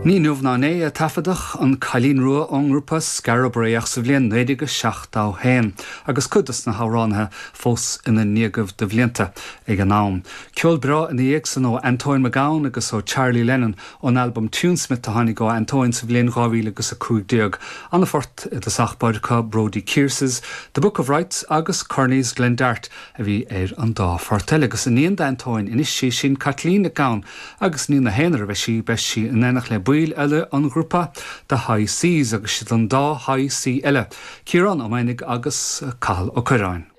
Ní inniu ná inné a taifeadadh An Cailín Rua ón ngrúpa Skara Brae ach sa bhliain 1971 agus cuid dos na hamhránaithe fós ina ndéagaibh de bhlianta ag an am. Ceol breá ina dhiaidh san ó Antóin Mac Gabhann agus ó Charlie Lennon ón albam Tunesmith a tháinig ó Antóin sa bhliain 2015. Ana-phort i dtosach báire acu Brodie Kierse's The Book of Rights agus Kearney's Glendart a bhí ar an dá phort eile agus iníon d'Antóin anois í sin Caitlín Nic Gabhann Agus ní ina haonar a bheidh sí, beidh sí in éineacht le baill eile an ghrúpa The High Seas agus siad an dá High Sea eile, Ciarán Ó Maonaigh agus Cathal Ó Cuirreáin.